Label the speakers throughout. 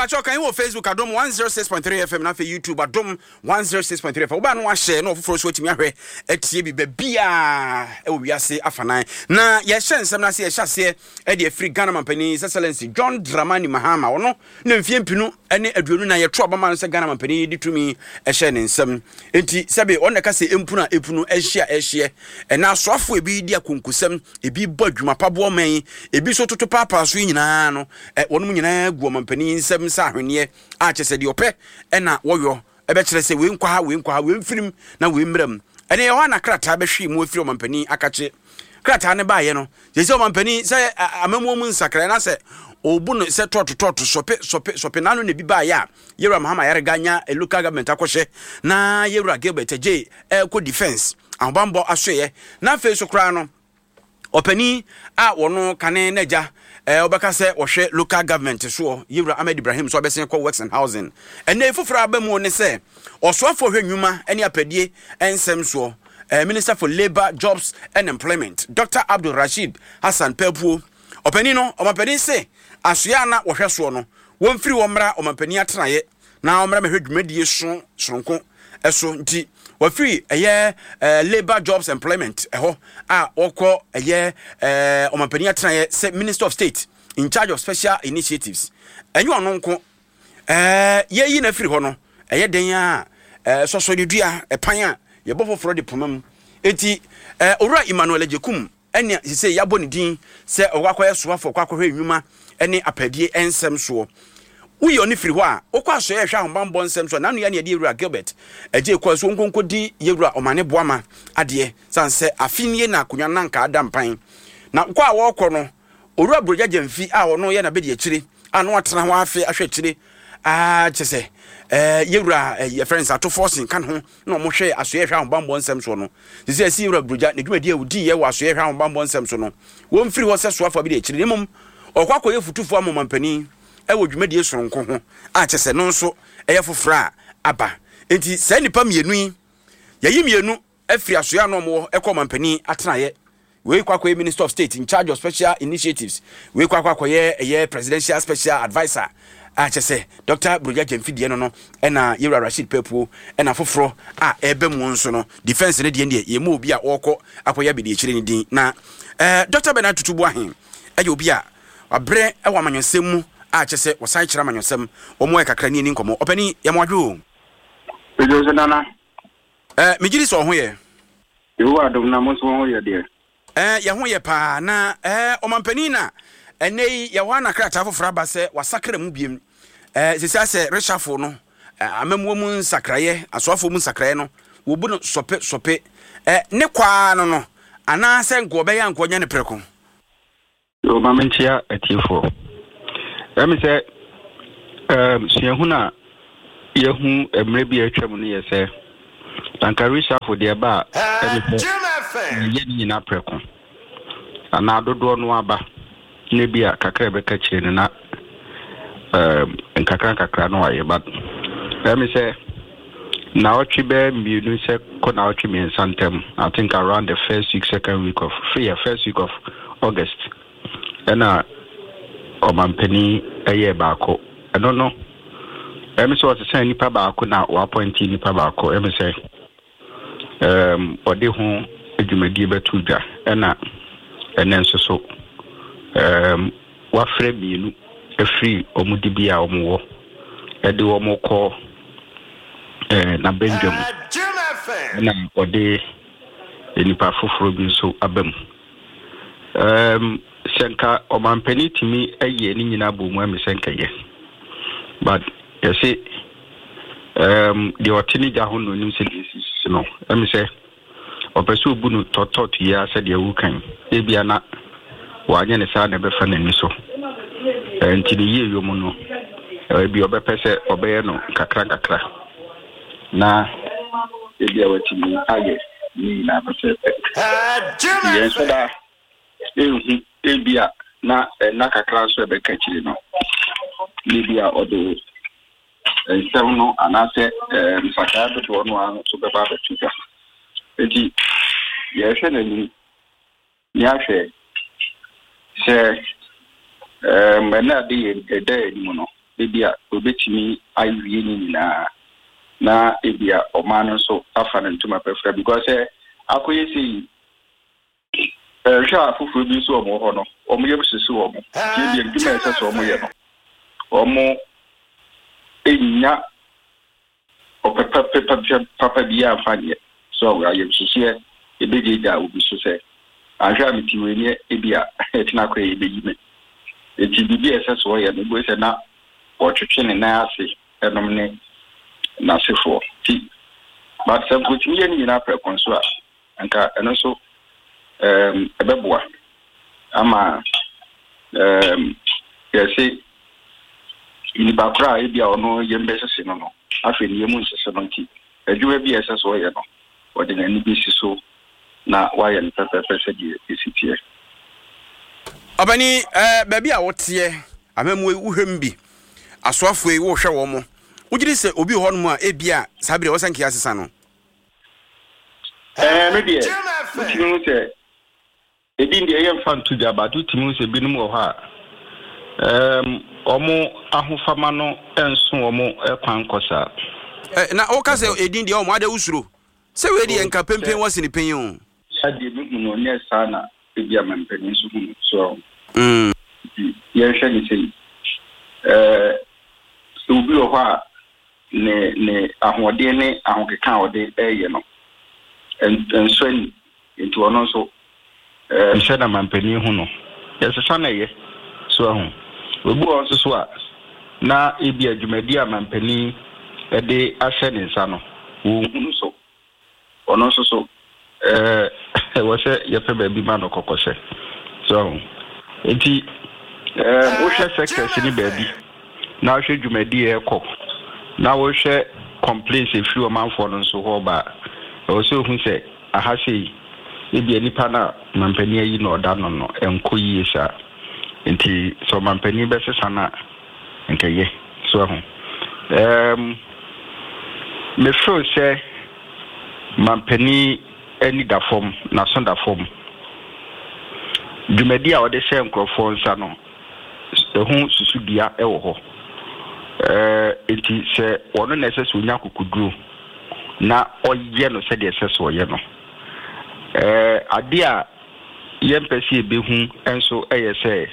Speaker 1: Mepakyɛw kan wɔ Facebook Adom 106.3 FM na afei YouTube Adom 106.3 FM. Wobaa no wahyɛ na ɔfoforɔ nso atumi ahwɛ atie bi baabiaa ɛwɔ wiase afanan. Na yɛhyɛ nsɛm no ase, yɛhyɛ aseɛ ɛde afiri Ghana mampanin His Excellency John Dramani Mahama. Ɔno na mfeɛ 2024 yɛto aba ma no sɛ Ghana mampanin de tumi ɛhyɛ ne nsam. Enti sɛbe ɔno na ɛka sɛ empunu a epunu ɛhye a ɛhyeɛ. Ɛna asoafoɔ ebi di akonkosɛm, ebi bɔ adwuma pa boa ɔman yi, ebi nso toto paapaa so yi nyinaa no, ɛ, wɔnom nyinaa gu ɔmampanin yi nsam sɛ ahweneɛ a kyerɛ sɛ deɛ ɔpɛ ɛna wɔyɔ. Ɛbɛkyerɛ sɛ wei nkɔ ha, wei nkɔ ha, wei mfirim na wei mmra mu. Ɛnna ɛhɔ a na krataa bɛhwee mu afiri ɔmampanin akakye. Krataa no baeɛ no, kyerɛ sɛ ɔmampanin sɛ amammuo mu nsakraeɛ na sɛ ɔbu no sɛ tɔɔto tɔɔto sɔpe sɔpe sɔpe n'ano na ebi baeɛ a Yɛwura Mahama Ayariga nya local government akɔhyɛ na Yɛwura Gilbert Adjei ɛrekɔ defence ahobammɔ asoɛeɛ na afei so koraa no Ɔpanin a wɔno kane n'agya eh, wɔbɛka sɛ wɔhwɛ local government soɔ, Yewura Ahmed Ibrahim nso abɛsen kɔ Works and Housing. Ɛnnɛ yi foforɔ a aba mu ne sɛ ɔsoafoɔ hwɛ nnwuma ne apɛdie nsɛm soɔ, eh, Minister for Labour, Jobs and Employment, Dr. Abdul Rasheed Hassan Pelpuo. Ɔpanin no, ɔmampanin se asoɛ a na wɔhwɛ soɔ no, wɔmfiri hɔ mmra ɔmampanin atenaeɛ na ɔmmra mɛhwɛ dwumadie so soronko so nti wafiri ɛyɛ eh, labour jobs employment ɛhɔ a wɔkɔ ɛyɛ eh, ɔmampanin atenaeɛ sɛ minister of state in charge of special initiatives. Ɛnyɛ ɔno nko eh, yɛyi no afiri hɔ no ɛyɛ den a eh, sɔsɔ ne dua ɛpan a yɛbɔ foforɔ de poma mu. Enti eh, owura Emmanuel Agyekum Ɛnna seesei yɛabɔ ne din sɛ ɔkɔ akɔyɛ soafoɔ, kɔ akɔhwɛ nnwuma ne apaadie nsɛm soɔ. Woyi ɔno firi hɔ a, wokɔ asɔeɛ a ɛhwɛ ahobammɔ nsɛm so a, n'ano yɛ ne yɛde Yɛwura Gilbert Adjei kɔɔ so ɔnkɔnkɔdi Yɛwura Omane Boama adeɛ, sane sɛ afe nie na akonnwa no anka ada mpan. Na kɔ a wɔrekɔ no, Owura Brogya Gyamfi a ɔno yɛ n'abadiakyire a na watena hɔ afe ahwɛ akyire a kyɛ sɛ Yɛwura yɛfrɛ no sɛ Ato Forson ka ne ho na wɔhwɛ Asoɛeɛ Hwɛ Ahobammɔ Nsɛm soɔ no, seesei asi Yewura Brogya ne dwumadie a ɔdiiɛ wɔ Asoɛeɛ Hwɛ Ahobammɔ Nsɛm so no, wɔmfiri hɔ sɛ soafoɔ abɛdi akyire, na mmom ɔrekɔ akɔyɛ fotufoɔ ama ɔmampanin wɔ dwumadie sononko ho a kyerɛ sɛ no nso ɛyɛ foforɔ a aba. Enti saa nnipa mmienu yi, yɛayi mmienu afiri asoɛeɛ a na wɔwɔ kɔ ɔmampanin atenaeɛ. Wei kɔ akɔyɛ Minister of State in charge of special initiatives, wei kɔ akɔ akɔyɛ ɛyɛ Presidential Special Adviser a kyɛ sɛ Dr. Burogya Gyamfi deɛ no no ɛna Yewura Rasheed Papuo ɛna foforɔ a ɛreba mu nso no defense no deɛ deɛ yɛn mu obi a ɔrekɔ akɔyɛ abɛdiakyire no din na ɛɛ Dr. Bernard Tutu Boahen ɛyɛ obi a wabrɛ ɛwɔ amanyɔsɛm mu a kyɛ sɛ wɔsan kyerɛ amanyɔsɛm wɔn ayɛ kakra ne ani nkɔmɔ ɔpɛni yɛn mo adwo o.
Speaker 2: Ɛdwo so nana.
Speaker 1: Eh, megye di sɛ ɔho yɛ.
Speaker 2: Yehowa adom na mo nso mo ho yɛ deɛ?
Speaker 1: Eh, yɛn ho yɛ paa. Na eh, ɔmampanin na ɛnnɛ yi yɛwɔ ha na krataa foforɔ aba sɛ wasakra mu biem. Eh, sisi asɛ reshuffle no, eh, amammuo mu nsakraeɛ, asoafoɔ mu nsakraeɛ no, wɔbu no sɔpe sɔpe. Eh, ne kwaa no no, anaasɛ nka ɔbɛyɛ a nka ɔnyɛ no prɛko.
Speaker 2: Yo, ma menkyea atiefoɔ. Ɛyɛ me sɛ um, suahunu a yɛahu mmerɛ bi a atwam no yɛ sɛ anka reshuffle deɛ ɛba a ɛne sɛ yɛyɛ ne nyinaa prɛko anaa dodoɔ no aba na bi a kakra ɛbɛka kyire no na um, nkakra nkakra no ayɛ ba. Ɛyɛ me sɛ Naawɔtwe bɛyɛ mmienu sɛ kɔ naawɔtwe mmiɛnsa ntam, I think around the first week, second week of, yeah, first week of August, ɛna ɔmampanin ɛyɛɛ baako. Ɛno no, ɛmi sɛ ɔsesa nipa baako na wapɔnti nipa baako, ɛmi sɛ um, ɔde ho dwumadie bɛto dwa, ɛna ɛnɛ nso so um, wafrɛ mmienu afiri wɔn dibea a wɔwɔ de wɔn kɔ eh, n'abadwa mu, ɛna ɔde nnipa foforɔ bi nso aba mu. Um, sɛ nka ɔmampanin tumi yɛ ne nyinaa bɔ mu ɛmi sɛ nka yɛ, but yɛse um, deɛ ɔte ne gya ho na onim sɛ deɛ esisi no, ɛmi sɛ Ɔpɛ sɛ obu no tɔtɔt yi ara sɛdeɛ woreka yi. Ebia na wanyɛ no saa na ɛbɛfa n'ani so. Enti ne yieyɔ mu no, ebia ɔbɛpɛ sɛ ɔbɛyɛ no nkakrankakra na ebia watumi ayɛ ne nyinaa pɛpɛɛpɛ. Enti yɛnhyɛ da nhu, ebia na nna kakra nso a ɛbɛka akyiri no, na ebia ɔde nsɛm no anaasɛ nsakrae dodoɔ no ara nso bɛba abɛto dwa. Enti yɛrehwɛ n'anim na yɛahwɛ sɛ ɛnna ade yɛ ɛda yɛn anim no. ebia ɔbɛtumi awie ne nyinaa na ebia ɔman no nso afa no ntoma pɛfra because sɛ akɔyɛ sei Hwɛ a afoforɔ bi nso wɔn wɔ hɔ no, wɔn yam hyehye wɔn, nti ebia adwuma a ɛsɛ sɛ wɔyɛ no, wɔn nnya ɔpɛ pa papa biara mfa nyɛ. So ayamhyehyeɛ ɛbɛgyaagyaa obi so sɛ, anhwɛ a mete wei ne ebia ɛtena akɔ yɛ ɛbɛyi me. Nti biribi a ɛsɛ sɛ ɔyɛ no, wobɛhu sɛ na ɔtwetwe ne nan ase nom ne n'asefoɔ. Nti, but sɛ nka ɔtumi yɛ ne nyinaa prɛko nso a, Anka ɛno nso ɛbɛboa ama yɛse nipa koro a ebi a ɔno yam bɛsese no no, afei ne yam nsese no nti, adwuma bi a ɛsɛ sɛ ɔyɛ no, ɔde n'ani bɛsi so na wayɛ no pɛpɛɛpɛ sɛdeɛ ɛsi teɛ.
Speaker 1: Ɔbani, eh, baabi a woteɛ, amammuo yi, wohwɛ mu bi, asoafoɔ yi, wohwɛ wɔn mo, wogye di sɛ obi wɔ hɔnom a ebia saa bere a ɛwɔ sɛ nka yɛasesa no?
Speaker 2: Ɛɛ me deɛ wotumi hu sɛ ebi deɛ yɛmfa nto dwa but wotumi hu sɛ binom wɔ hɔ a ɛɛm wɔn ahofama no nso wɔn kwan kɔ saa.
Speaker 1: Ɛ na woka sɛ edin deɛ wɔn adɛ wosuro sɛ wei deɛ nka pempen wɔ sene panyin o.
Speaker 2: Bia deɛ mehu no nyɛ saa na ebia mampanin nso hu no so ahu. Nti yɛnhwɛ ne sei ɛɛ sɛ obi wɔ hɔ a ne ne ahoɔden ne ahokeka a ɔde reyɛ no nsɔ ani, nti ɔno nso ɛɛ. Sɛ na mampanin hu no, yɛsesa na ɛyɛ. So ahu? Obi wɔ hɔ nso so a, na ebia dwumadi a mampanin de ahyɛ ne nsa no, ɔnhu no so. Ɔno nso so, ɛwɔ sɛ yɛpɛ baabi ma no kɔkɔhyɛ. So ahu? Nti, wohwɛ sectors no baabi, na wohwɛ dwumadi a ɛkɔ, na wohwɛ complaints ɛfiri ɔmanfoɔ no nso hɔ ba a, ɛwɔ sɛ ohu sɛ aha sei, ebia nipa no a mampanin ayi no ɔda no no, ɛnkɔ yie saa. Nti, sɛ ɔmampanin bɛsesa no a, nka ɛyɛ. So ahu? Ɛɛm, me feel sɛ mampanin ani da fam, n'aso da fam. Dwumadi a ɔde hyɛ nkurɔfoɔ nsa no, ɛho susudua wɔ hɔ. Ɛɛ, nti sɛ ɔno na ɛsɛ sɛ ɔnya akokoduro na ɔyɛ no sɛdeɛ ɛsɛ sɛ ɔyɛ no. Ɛɛ, adeɛ a yɛmpɛ sɛ yebehu nso yɛ sɛ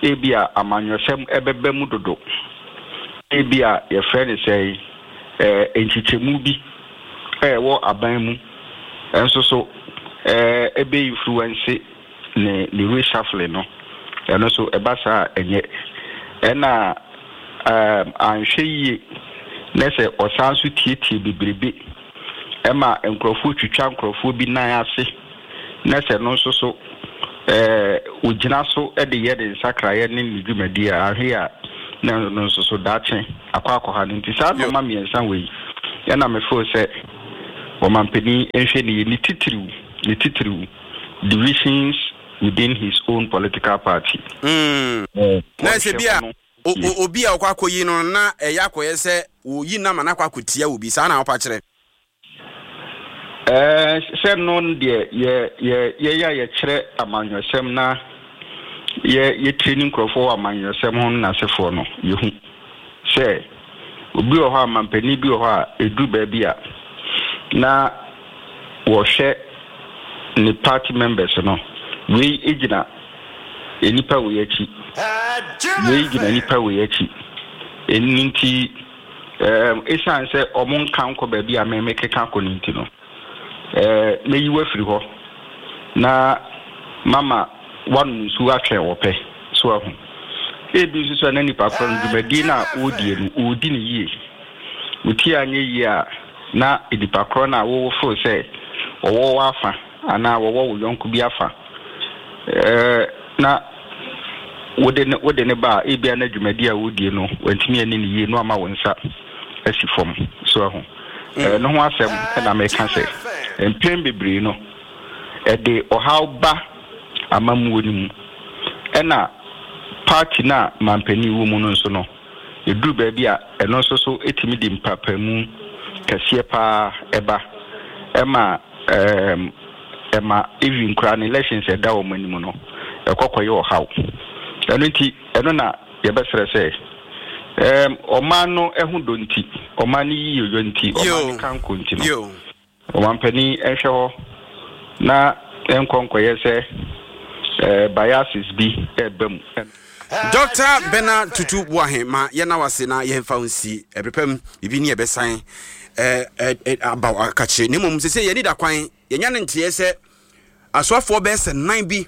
Speaker 2: ebia amanyɔsɛm bɛba mu dodo. Ebia yɛfrɛ no sɛn, nkyekyɛmu bi a ɛwɔ aban mu nso so bɛ influence ne ne reshuffling no. Ɛno nso ɛba saa a ɛnyɛ. Ɛna anhwɛ yie na sɛ ɔsan nso tietie bebrebe ma nkurɔfoɔ twitwa nkurɔfoɔ bi nan ase na sɛ no nso so ɔgyina so de yɛ ne nsakraeɛ ne ne dwumadie a, ahwɛ a na no nso so daakye akɔ akɔha no. Nti saa nnoɔma mmiɛnsa wei ɛna me feel sɛ ɔmampanin nhwɛ ne yie, ne titiriw, ne titiriw divisions within his own political party.
Speaker 1: Na ɛsɛ bi a obi a ɔkɔ akɔyi no na ɛyɛ akɔyɛ sɛ wɔyi no ama no akɔ akɔtia obi, saa na wopa kyerɛ?
Speaker 2: Ɛɛ, sɛ no deɛ yɛ yɛ yɛn a yɛkyerɛ amanyɔsɛm na yɛ yɛtreni nkurɔfoɔ wɔ amanyɔsɛm ho no n'asefoɔ no, yɛhu sɛ obi wɔ hɔ a mampanin bi wɔ hɔ a ɛduru baabi a na wɔhwɛ ne party members no, wei gyina nnipa wei akyi, wei gyina nnipa wei akyi. Ɛno nti Ɛɛm, esiane sɛ wɔnka nkɔ baabi a me mekeka kɔ no nti no, ɛɛ, mɛyi wo afiri hɔ na mama woanom nsuo atwɛn ɔpɛ. So ahu? Ebi nso so a na nipa korɔ no dwumadie no a ɔredie no, ɔredi no yie. Wo ti anyɛ yie a, na nipa korɔ no a wofeel sɛ ɔwɔ w'afa anaa wɔwɔ wo yɔnko bi afa, ɛɛ, na wode no wode no ba a, ebia na dwumadi a wodie no wantumi anni no yie na wama wo nsa asi fam. So ahu? Ɛno ho asɛm na meka sɛ mpɛn bebree no ɛde ɔhaw ba amammuo no mu. Ɛna party no a mampanin wɔ mu no nso no, ɛduru baabi a ɛno nso so tumi de mpaapaemu kɛseɛ pa ara ba. Ɛma ɛɛm ɛma even koraa no elections a ɛda wɔn anim no ɛkɔ kɔyɛ ɔhaw. Ɛno nti ɛno na yɛbɛsrɛ sɛ Ɛɛm, ɔman no ho dɔ nti, ɔman no yiyeyɔ nti, ɔman no kanko nti no, ɔmanpanin nhwɛ hɔ na ɛnkɔ nkɔyɛ sɛ ɛɛ biases bi reba mu.
Speaker 1: Dɔkta Bernard Tutu Boahe ma yɛnna wo ase na yɛmfa wo nsi ɛberɛ pa mu, biribi ne yɛbɛsan aba wo akakyire. Na mmom sese yɛn ani da kwan, yɛnya ne nteɛ sɛ asoafoɔ bɛyɛ sɛ nan bi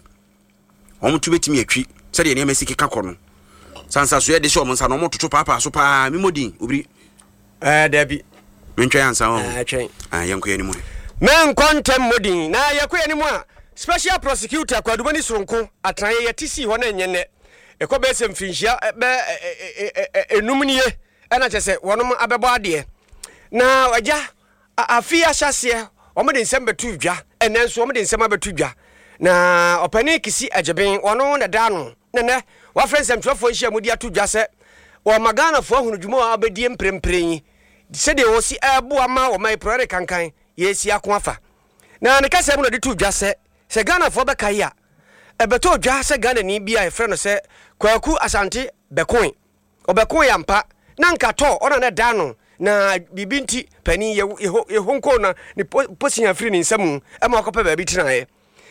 Speaker 1: wɔn to bɛtumi atwi sɛdeɛ nneɛma si keka kɔ no. Sansasoɛ de hyɛ wɔn nsa no wɔn toto paapaa so paa memmɔ din obiri.
Speaker 3: Ɛɛ dabi.
Speaker 1: Mentwɛn ansa wɔn.
Speaker 3: Ɛɛ twɛn.
Speaker 1: Ah, yɛnkɔ yɛn anim.
Speaker 3: Menkɔ ntɛm mmɔ din na yɛkɔ yɛn anim a Special Prosecutor Kwadubani Soronko atenaeɛ yɛte sii hɔ na ɛnyɛ nnɛ. Ɛkɔ bɛyɛ sɛ mfirinhyia bɛ enum nie ɛna kyɛ sɛ wɔnom abɛbɔ adeɛ. Na agya Afe yi ahyɛaseɛ, wɔde nsɛm bɛtoo dwa, ɛnnɛ nso wɔde nsɛm abɛto dwa. Na Ɔpanin Kissi Agyebeng, ɔno na ɛda ano, na nnɛ wafrɛ nsɛmtwerɛfoɔ nhyiamu de ato dwa sɛ wɔma Ghanafoɔ ahunu dwuma a wɔbɛdie mprempren yi, sɛdeɛ wɔsi ɛreboa ma wɔma yi prɔɛ rekankan yɛresi ako afa. Na ne kasa mu na ɔde too dwa sɛ, sɛ Ghanafoɔ bɛkae a, ɛbɛtɔɔ dwa sɛ Ghanani bi a yɛfrɛ no sɛ Kwaku Asante bɛkoe. Ɔbɛkoe ampa, na anka tɔ ɔna na ɛda ano, na biribi nti panin Yehonkoo na ne posia firi ne nsa mu ma ɔkɔpɛ baabi tenaeɛ.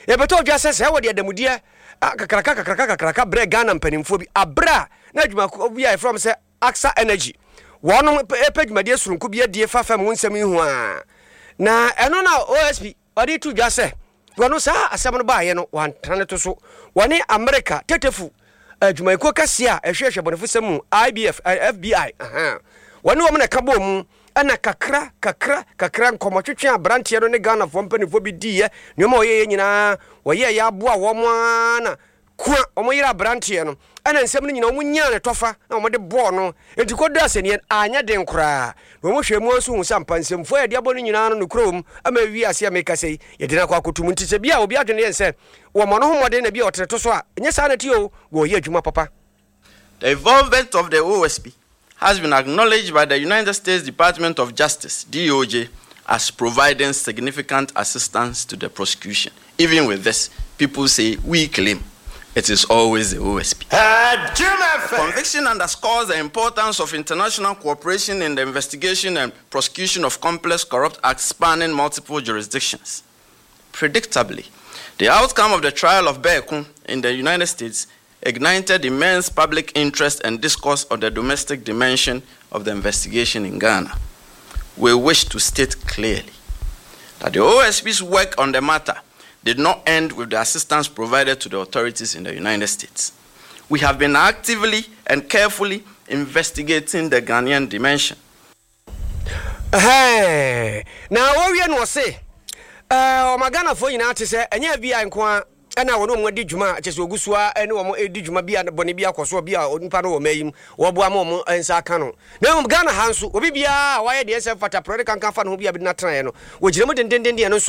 Speaker 3: Yɛbɛtɔ dwa sɛ sɛ wɔde adamudeɛ kakraka kakraka kakraka brɛ Ghana mpanimfoɔ bi aberɛ a na adwumakuo bi a yɛfrɛ wɔn sɛ Aksa Energy wɔnom pɛ dwumadie soronko bi adie fa fam ho nsɛm yi ho a na ɛno na OSP Ɔde to dwa sɛ, wɔno saa asɛm no baeɛ no wɔantena no to so. Wɔne Amerika tetefo adwumayɛkuo kɛseɛ a ɛhwehwɛ bɔnefosɛm mu, IBF, FBI, ahaa, wɔne wɔn na ɛka bɔɔ mu, ɛna kakra, kakra, kakra nkɔmmɔtwetwe a aberanteɛ no ne Ghanafoɔ mpanimfoɔ bi diiɛ, nneɛma a wɔyɛeɛ nyinaa, wɔyɛeɛ aboa wɔn ara na Kua, wɔyere aberanteɛ no, ɛna nsɛm no nyinaa wɔnyaa ne tɔfa na wɔde bɔɔ no. Enti kɔduu asɛnniiɛ no, anyɛ den koraa. Na wɔhwɛɛ mu ara nso huu sɛ ampa nsɛmfua a yɛde abɔ no nyinaa no nokorɛ wɔ mu ama awie ase a merekasa yi, yɛde no akɔ akɔto mu. Nti sɛ bi a obi adwene yɛ no sɛ wɔmmɔ no ho mmɔden na bi a ɔtene to so a, ɛnyɛ saa na ɛteɛ o, wɔreyɛ adwuma papa.
Speaker 4: The involvement of the OSP has been acknowledged by the United States Department of Justice, DOJ, as providing significant assistance to the prosecution. Even with this, people say we claim it is always the OSP. The conviction underscores the importance of international cooperation in the investigation and prosecution of complex corrupt acts spanning multiple jurisdictions. Predictably, the outcome of the trial of Berkun in the United States ignited immense public interest and discourse on the domestic dimension of the investigation in Ghana. We wish to state clearly that the OSP's work on the matter did not end with the assistance provided to the authorities in the United States. We have been actively and carefully investigating the Ghanaian dimension.
Speaker 3: Ɛhɛɛ, na wɔwie no ɔse, ɛɛ, ɔma Ghanafoɔ nyinaa te sɛ ɛnyɛ FBI nko ara ɛna wɔne wɔn adi dwuma a kyɛ sɛ wɔgu so ara ne wɔn redi dwuma bi a bɔne bi akɔ so bi a nipa no wɔ mmaa yi mu wɔboa ma wɔn nsa aka no na mmom Ghana ha nso obi biara a wayɛ deɛ ɛnsɛ mfata porɔde kankan fa ne ho bi a bɛdi n'atenaeɛ no wɔgyina mu dendendenden ɛno nso.